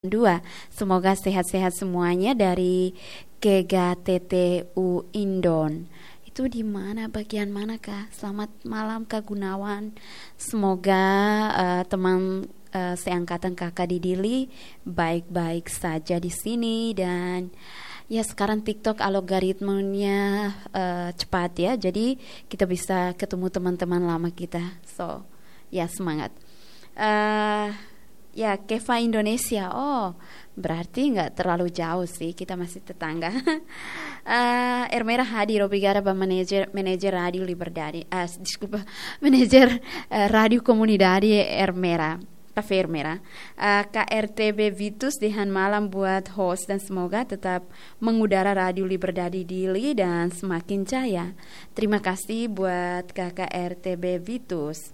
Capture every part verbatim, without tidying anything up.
dua. Semoga sehat-sehat semuanya dari Kega T T U Indon. Itu di mana, bagian mana kah? Selamat malam, Kak Gunawan. Semoga, eh, teman, eh, seangkatan Kakak di Dili baik-baik saja di sini. Dan ya, sekarang TikTok algoritmenya, eh, cepat ya. Jadi kita bisa ketemu teman-teman lama kita. So, ya, semangat. Eh, ya, Keva Indonesia. Oh, berarti nggak terlalu jauh sih, kita masih tetangga. Eh, Ermera hadir, obrigada ba manajer, manajer Rádio Liberdade. Ah, deskulpa, manajer, eh, Rádio Komunidade Ermera. Kafé Ermera. Eh, K R T B Vitus dehan malam buat host dan semoga tetap mengudara Rádio Liberdade Dili dan semakin jaya. Terima kasih buat K K R T B Vitus.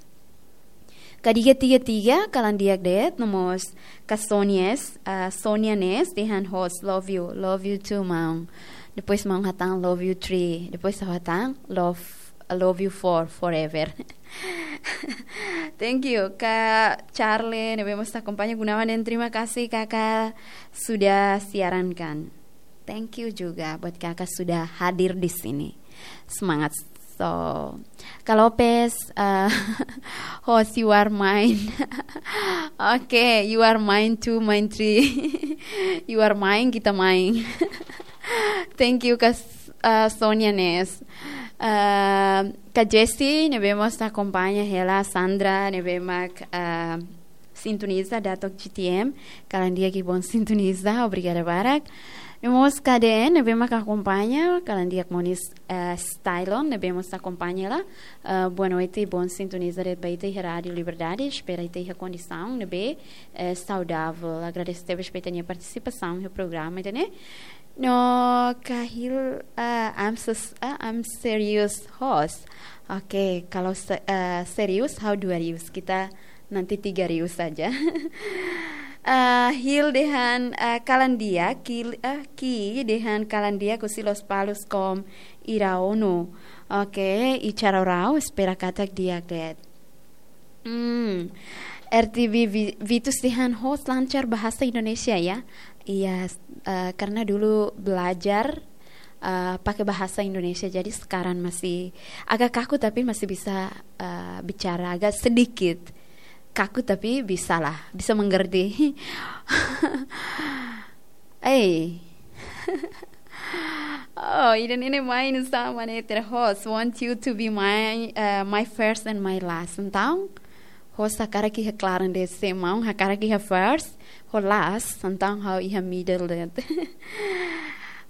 Kadiga tiga tiga, kalan di'ak de'it, no mós Kak Sonia, ah, Sonia Nes, dehan host, love you, love you too, maun. Depois maun hatán, love you three. Depois ha'u hatán, love, I love you four, forever. Thank you, Kak Charlie, ne'ebé mós akompaña Gunawan, dan terima kasih Kakak sudah siarankan. Thank you juga buat Kakak sudah hadir di sini. Semangat. So, Kak Lopez, eh, host, you are mine. Oke, you are mine too, mine three. You are mine, kita main. Thank you, Kak, eh, Sonia Nes. Eh, Kak Jessie, ne'ebé mós akompaña hela, Sandra, ne'ebé mak, eh, sintoniza Datok G T M, kalan di'ak i bom sintoniza, obrigada barak. No mós K D N, ne'ebé mak akompaña, kalan di'ak mós, eh, Stylon, ne'ebé mós akompaña hela. Eh, boa noite, bom sintoniza de'it ba ita iha Rádio Liberdade, espera ita iha kondisaun ne'ebé, eh, saudável. Agradese tebes ba ita-nia partisipasaun iha programa ida-ne'e. No Kahil, eh, I'm so, eh, I'm serious host. Oke, kalau se-, eh, serius, ha'u dua rius. Kita nanti tiga rius saja. Eh, Hil dehan, eh, kalan di'ak, Ki, eh, Ki dehan kalan di'ak husi Lospalos com Iraono. Oke, i Carorau, espera katak di'ak de'it. Hmm. R T B Vi-, Vitus dehan host lancar bahasa Indonesia ya. Iya, eh, karena dulu belajar, eh, pakai bahasa Indonesia, jadi sekarang masih agak kaku tapi masih bisa, eh, bicara agak sedikit. Kaku tapi bisalah, bisa mengerti. Eh. Oh, ida-ne'e mak anu sama ne'e, ter host, want you to be my, eh, my first and my last. Entaun, host hakarak iha klaran de'it, se maun hakarak iha first, ho last, entaun ha'u iha middle de'it.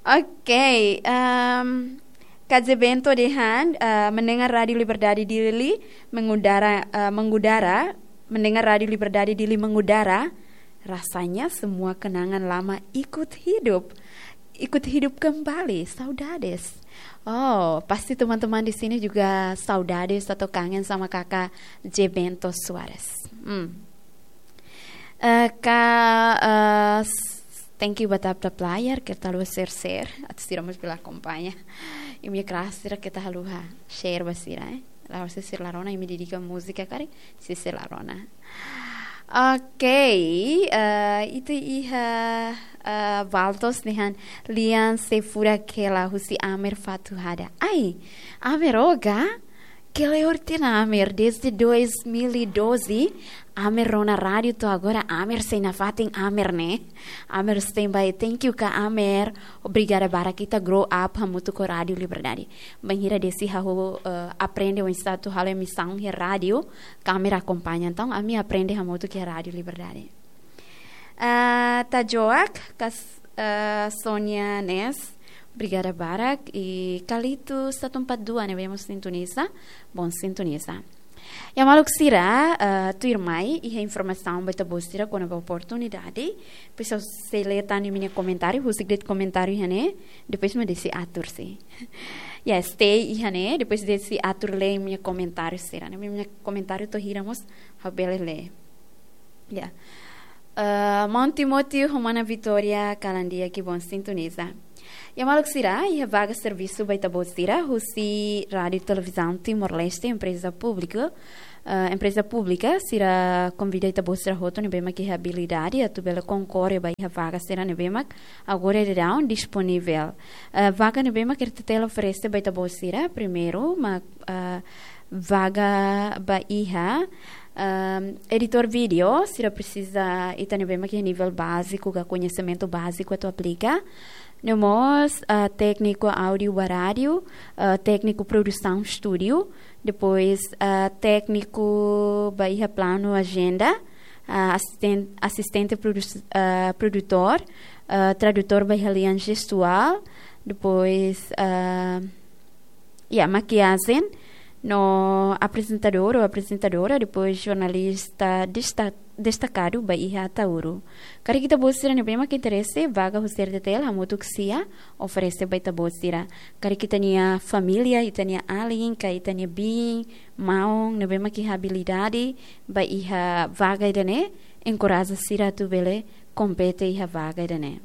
Oke, em, Kak Zé Bento dehan, eh, mendengar Rádio Liberdade Dili mengudara, eh, mengudara, mendengar Rádio Liberdade Dili mengudara, rasanya semua kenangan lama ikut hidup. Ikut hidup kembali, saudades. Oh, pasti teman-teman di sini juga saudades atau kangen sama Kakak Zé Bento Soares. Hmm. Eh, Kak, eh, s-, thank you ba tap-tap layar, keta haluha share-share, atu sira mós bele akompaña. Imi kraik sira keta haluha share ba sira, eh. La'ós sira la rona, imi dedika múzika karik, sira la rona. Oke, eh, ita iha, eh, Valtos dehan lian sei furak hela husi Amer Fatuhada. Ai, Amer Oga, kleur tiha ona Amer, desde dois mil e doze, Amer rona rádiu to'o agora, Amer sei nafatin Amer ne'e. Amer standby, thank you Kak Amer. Obrigada barak, ita grow up hamutuk ho Rádio Liberdade. Bainhira desde ha'u, eh, aprende oinsá atu halo emisaun iha rádiu, Kak Amer akompaña. Entaun, ami aprende hamutuk iha Rádio Liberdade. Ah, Tajoak, Kak, eh, Sonia Nes, obrigada barak. I Kalito satu empat dua ne'ebé mós sintoniza, bom sintoniza. Ya maluk sira, eh, tuirmai iha informasaun ba ita-boot sira kona-ba oportunidade. Depois ha'u sei lee tan imi-nia komentáriu, husik de'it komentáriu iha ne'e, depois mak deside atur sih. Ya, stay iha ne'e, depois deside atur lee imi-nia komentáriu sira. Ne'e imi-nia komentáriu to'o hira mós ha'u bele lee. Ya. Eh, Maun Timóteo ho Mana Vitória, kalan di'ak i bom sintoniza. Ya maluk sira, iha vaga servisu ba ita-boot sira husi Rádio Televizaun Timor-Leste, empreza públika, ah, empreza públika sira konvida ita-boot sira hotu ne'ebé mak iha abilidade atu bele konkorre ba iha vaga sira ne'ebé mak agora daudaun disponivel. Ah, vaga ne'ebé mak R T T L oferese ba ita-boot sira, primeiru mak, ah, vaga ba iha, ah, editór vídeo, sira presiza ita ne'ebé mak iha nivel báziku ka koñesimentu báziku atu aplika. No mós, ah, tékniku áudiu ba rádiu, ah, tékniku produsaun estúdiu, depois, ah, tékniku ba iha planu ajenda, ah, asisten-, asistente produ-, ah, produtór, ah, tradutór ba iha lian jestuál, depois, ah, ya, makiajen, no aprezentadór ou aprezentadora, depois jornalista desta-, destakadu ba iha Ataúro. Karik ita-boot sira ne'ebé mak interese, vaga husi R T T L hamutuk ho sira oferese ba ita-boot sira. Karik ita-nia família, ita-nia alin, ka ita-nia biin, maun, ne'ebé mak iha abilidade ba iha vaga ida-ne'e, enkoraja sira atu bele kompete iha vaga ida-ne'e.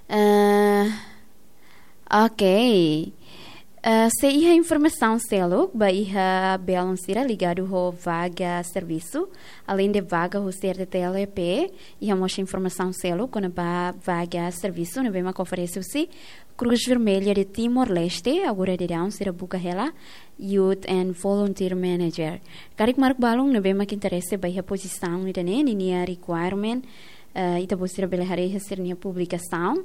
Eh, ok. Eh, sei iha informasaun seluk ba iha belun sira ligadu ho vaga servisu, aleinde vaga husi R T T L E P, iha mós informasaun seluk kona-ba vaga servisu ne'ebé mak oferese husi Cruz Vermelha de Timor-Leste, agora daudaun sira buka hela Youth and Volunteer Manager. Karik maluk balun ne'ebé mak interese ba iha pozisaun ida-ne'e, ninia requirement, eh, ita-boot sira bele haree iha sira-nia publikasaun,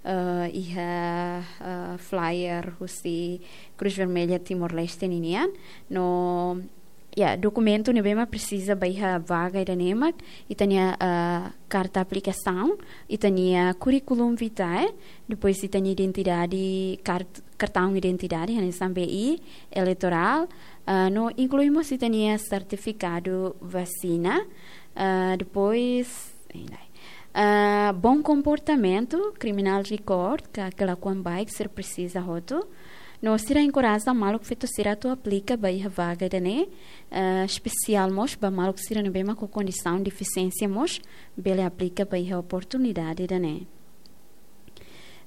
eh, iha, eh, flyer husi Cruz Vermelha Timor-Leste ninian. No, ya, dokumentu ne'ebé mak presiza ba iha vaga ida-ne'e mak, ita-nia, eh, karta aplikasaun, ita-nia curriculum vitae, depois ita-nia identidade, kart-, kartaun identidade, hanesan B I, eleitorál, eh, no inklui mós ita-nia sertifikadu vasina, eh, depois, eh, bom comportamento, criminal record, ka kelakuan baik sira presiza hotu. No sira enkoraja maluk feto sira atu aplika ba iha vaga ida-ne'e, eh, espesiál mós ba maluk sira ne'ebé mak ho kondisaun defisiénsia mós bele aplika ba iha oportunidade ida-ne'e.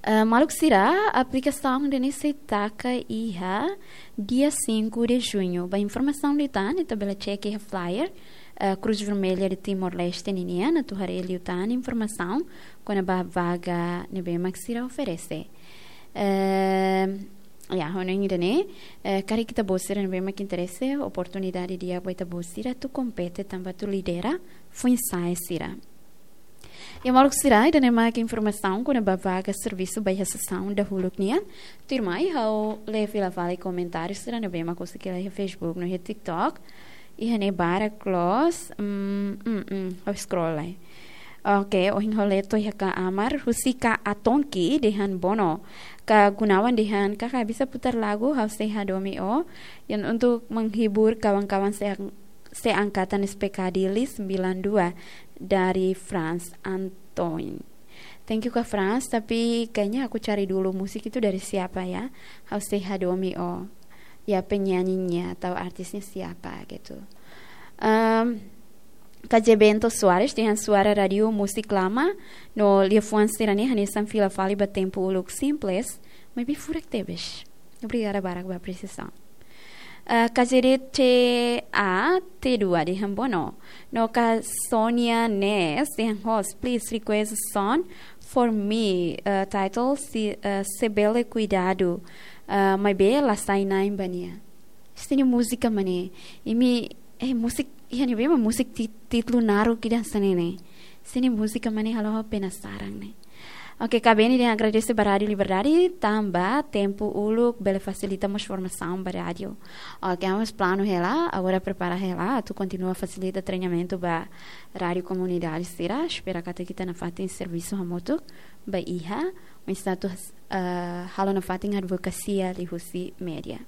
Eh, maluk sira, aplikasaun ida-ne'e sei taka iha dia cinco de junho. Ba informasaun liután, ita bele check iha flyer, eh, Cruz Vermelha de Timor-Leste ninian, atu haree liután informasaun kona-ba vaga ne'ebé mak sira oferese. Eh, ya, hanoin ida-ne'e, eh, karik ita-boot sira ne'ebé mak interese, oportunidade di'ak ba ita-boot sira atu kompete tanba atu lidera foin-sa'e sira. Ya, maluk sira, ida-ne'e mak informasaun kona-ba vaga servisu ba iha sesaun dahuluk nian. Tuirmai ha'u lee fila fali komentáriu sira ne'ebé mak husik hela iha Facebook no iha TikTok. Iha ne'e barak loos, mm, mm, mm, ha'u scroll lai. Ok, ohin ha'u lee to'o iha Ka Amar, husi Ka Atonki dehan: Bono, Ka Gunawan dehan, "Kakak bisa putar lagu, ha'u sei hadomi ó." Yang untuk menghibur kawan-kawan se-, seangkatan S P K Dili sembilan dua dari Franz Antoine. Thank you, Kak Franz, tapi kayaknya aku cari dulu musik itu dari siapa ya. Ha'u sei hadomi ó. Ya, penyanyinya atau artisnya siapa gitu. Em, K J Bento Soares dehan suara rádiu musik lama, no liafuan sira-ne'e hanesan fila fali ba tempu uluk, simples, maibé furak tebes. Obrigada barak ba apresiasaun. Eh, K J D T A T dua dehan: Bono. No Ka Sonia Nes dehan: "Host, please request a song for me, eh, title se, eh, Se Bele Kuidadu, eh, maibé la sai na'in ba nia." Esta-nia múzika mak ne'e, imi, eh, musik, iha ne'ebé mak musik ti-, títulu naruk ida hanesan ne'e ne'e. Esta-nia múzika mak ne'e, halo ha'u penasaran ne'e. Ok, Ka Beni dehan agradese ba Rádiu Liberdade tanba tempu uluk bele fasilita mós formasaun ba rádiu. Ok, ha'u mós planu hela, agora prepara hela atu kontinua fasilita treinamentu ba rádiu komunidade sira, espera katak ita nafatin servisu hamutuk ba iha, oinsá atu, eh, halo nafatin advokasia liuhusi média.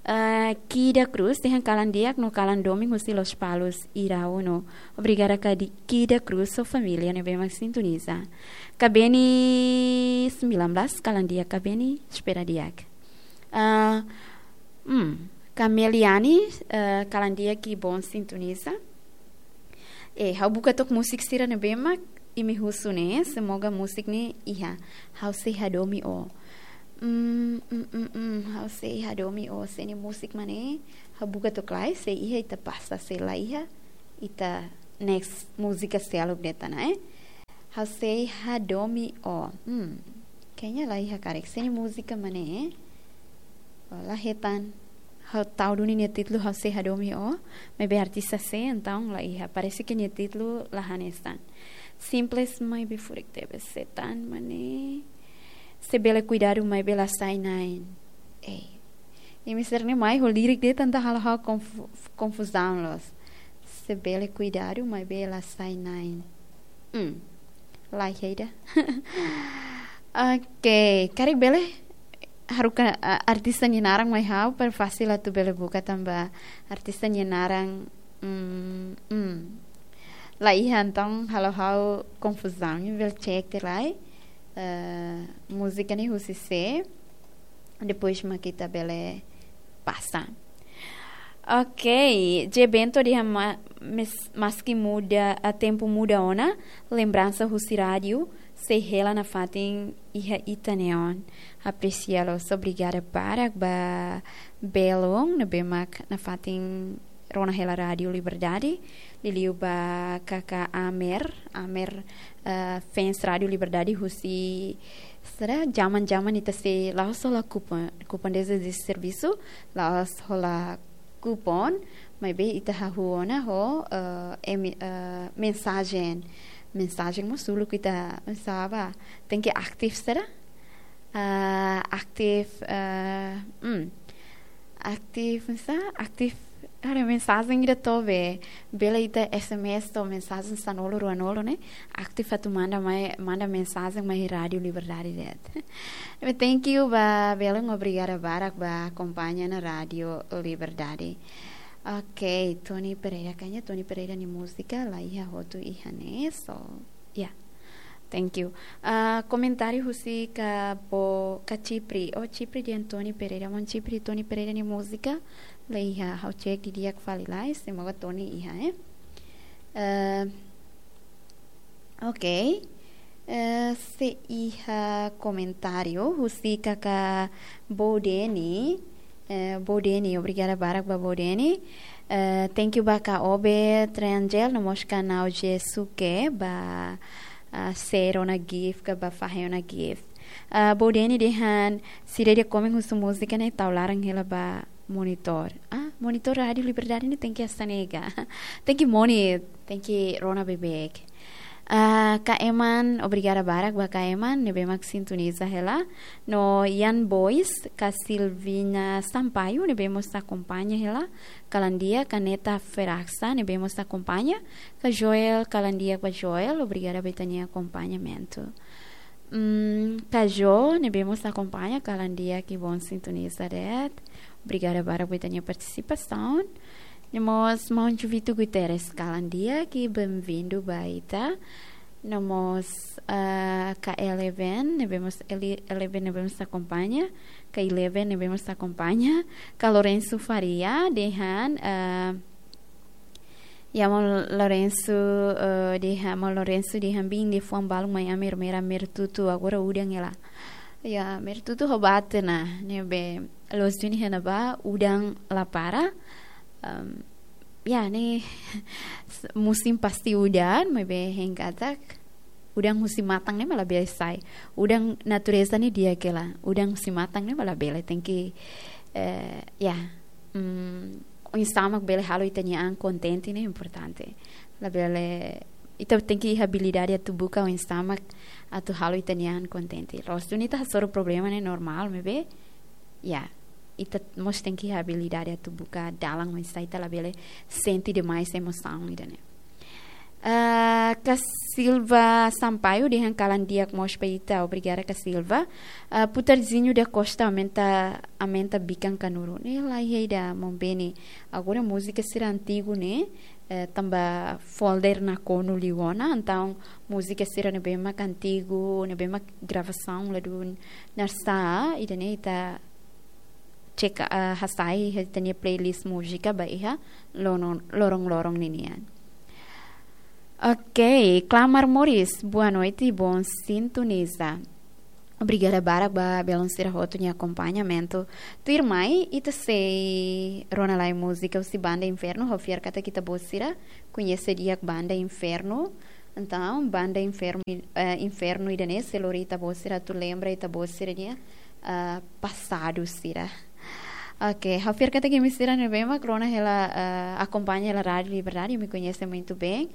Eh, Kida Cruz dehan kalan di'ak no kalan domin husi Lospalos, Iraú no. Obrigada Ka di-, Kida Cruz ho família ne'ebé mak sintoniza. Ka Beni sembilan belas, kalan di'ak Ka Beni, espera di'ak. Eh, hmm, Ka Meliani, eh, kalan di'ak i bom sintoniza. Eh, ha'u buka took musik sira ne'ebé mak imi husu ne'e, semoga musik ne'e iha. Ha'u sei hadomi ó. Hmm, hmm, hmm, hmm. Ha'u sei hadomi ó, se nia múzika mak ne'e, ha'u buka to'o kala, se iha ita pasa, se la iha, ita next múzika seluk de'it ona, eh. Ha'u sei hadomi ó. Hmm. Kayaknya la iha karik. Se nia múzika mak ne'e, eh. La hetan. Ha'u tau duni nia títulu ha'u sei hadomi ó. Maibé artista sé, entaun la iha. Parese ke nia títulu la hanesan. Simples maibé furak tebes, se tan mak ne'e. Se bele kuidadu maibé la sai na'in. Ei. Imi sira-ne'e mai ho lirik de'it entaun halo ha'u konfu-, konfuzaun loos. Se bele kuidadu maibé la sai na'in. Hmm. La iha ida. Oke, karik bele haruka, ah, artista nia naran mai ha'u, para fasil atu bele buka tanba artista nia naran, mm, mm. La iha, entaun halo ha'u konfuzaun. Imi bele cek tiha lai, eh, múzika ne'e husi sé. Depois mak ita bele pasa. Ok, J Bento dehan ma-, mes-, maski muda, ah, tempu muda ona, lembransa husi rádiu sei hela nafatin iha ita-nia oan. Apresia loos, obrigada barak ba belun ne'ebé mak nafatin rona hela Rádiu Liberdade, liuliu ba kaka Amer, Amer, eh, fans Rádiu Liberdade husi, sira, jaman-jaman ita sei la'ós hola kupon, kupon desde de servisu, la'ós hola kupon, maibé ita hahú ona ho, eh, emi-, eh, mensajen. Mensajen mós uluk ita, saida, tenke aktif sira. Ah, aktif, eh, hmm. Aktif, sá, aktif, ada mensajen ida to'o be, bele ita S M S to'o mensajen sanulu ruanulu ne'e. Aktif atu manda mai, manda mensajen mai Rádiu Liberdade de'it. Thank you ba belun, obrigada barak ba akompaña ona Rádiu Liberdade. Ok, Tony Pereira, kayaknya Tony Pereira nia múzika la iha hotu iha ne'e, so, ya. Thank you. Ah, komentáriu husi ka bo, ka Chipri. Oh, Chipri dehan Tony Pereira. Maun Chipri, Tony Pereira nia múzika la iha, ha'u cek didi'ak fali lai, semoga Tony iha, eh. Eh, ok. Eh, sei iha komentáriu husi kaka Bodeni. Eh, Bodeni, obrigada barak ba Bodeni. Eh, thank you ba ka Obe Triangel, no mós ka Nau Jesuke, ba, ah, share ona gift, ka ba fahe ona gift. Ah, Bodeni dehan, sira ida komen husu múzika ne'e tau laran hela ba monitor. Ah, monitor Rádiu Liberdade ne'e tenke hanesan ne'e ka. Tenke moni, tenke rona beibeik. Ah, ka Eman, obrigada barak ba ka Eman, ne'ebé mak sintoniza hela. No Ian Boys, ka Silvina Sampaio, ne'ebé mós akompaña hela. Kalan di'ak, ka Neta Feraxa, ne'ebé mós akompaña. Ka Joel, kalan di'ak ba Joel, obrigada ba ita-nia akompañamentu. Mm, ka Jo, ne'ebé mós akompaña, kalan di'ak, que bom sintoniza de'it. Obrigada barak ba ita-nia partisipasaun. No mós maun Juvito Guterres, kalan di'ak, que bem-vindo ba ita. No mós, ah, ka Eleven, ne'ebé mós Ele-, Eleven ne'ebé mós akompaña, ka Eleven ne'ebé mós akompaña, ka Lorenzo Faria, dehan, ah, ya, maun Lorenzo, eh, dehan, maun Lorenzo dehan bin de fuan balu mai Amer, Amer, Amer tutu, agora udan hela. Ya, Amer tutu ho bate na, ne'ebé loos duni iha ne'ebá, udan la para. Em, ya, ne'e musim pasti udan, maibé hein katak udan husi matan ne'e mak labele sai. Udan natureza ne'e di'ak hela. Udan husi matan ne'e mak labele, tenke, eh, ya, mm, oinsá mak bele halo ita-nia an kontente ne'e importante. Labele, ita tenke iha abilidade atu buka oinsá mak atu halo ita-nia an kontente. Loos duni ita hasoru problema ne'e normál, maibé, ya, ita mós tenke iha abilidade atu buka dalan oinsá ita labele sente demais emosaun ida-ne'e. Ah, ka Silva Sampaio dehan kalan di'ak mós ba ita, obrigada ka Silva. Ah, Putarzinho da Costa aumenta, aumenta bikan kanuru. Ne'e la iha ida maun Beni. Agora múzika sira antigu ne'e, eh, tanba folder nakonu liu ona, entaun múzika sira ne'ebé mak antigu, ne'ebé mak gravasaun la dún narsá, ida-ne'e ita cek, ah, hasai iha ita-nia playlist múzika ba iha loron, loron-loron ninian. Ok, Clamar Morris, boa noite, bom sintoniza. Obrigada barak ba belun sira hotu nia akompañamentu. Tuirmai, ita sei rona lai múzika husi Banda Inferno, ha'u fiar katak ita-boot sira koñese di'ak Banda Inferno. Entaun, Banda Inferno, eh, Inferno ida-ne'e sei lori ita-boot sira atu lembra ita-boot sira-nia, eh, pasadu sira. Oke, ha'u fiar katak imi sira ne'ebé mak rona hela, eh, akompaña hela Rádiu Liberdade, imi koñese muito bem.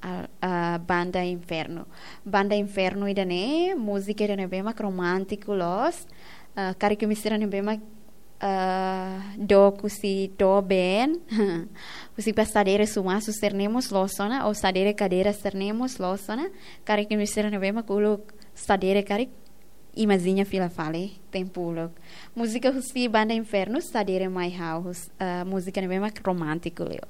Ah, ah, Banda Inferno. Banda Inferno ida-ne'e, múzika ida ne'ebé mak romántiku loos. Ah, karik imi sira ne'ebé mak, ah, dook husi doben. Husi ba sadere sumasu sira-ne'e mós loos ona, ou sadere kadeira sira-ne'e mós loos ona. Karik imi sira ne'ebé mak uluk sadere karik, imajiña fila fali, tempu uluk. Múzika husi Banda Inferno, Sadere Mai Ha'u, hus-, ah, múzika ne'ebé mak romántiku liu.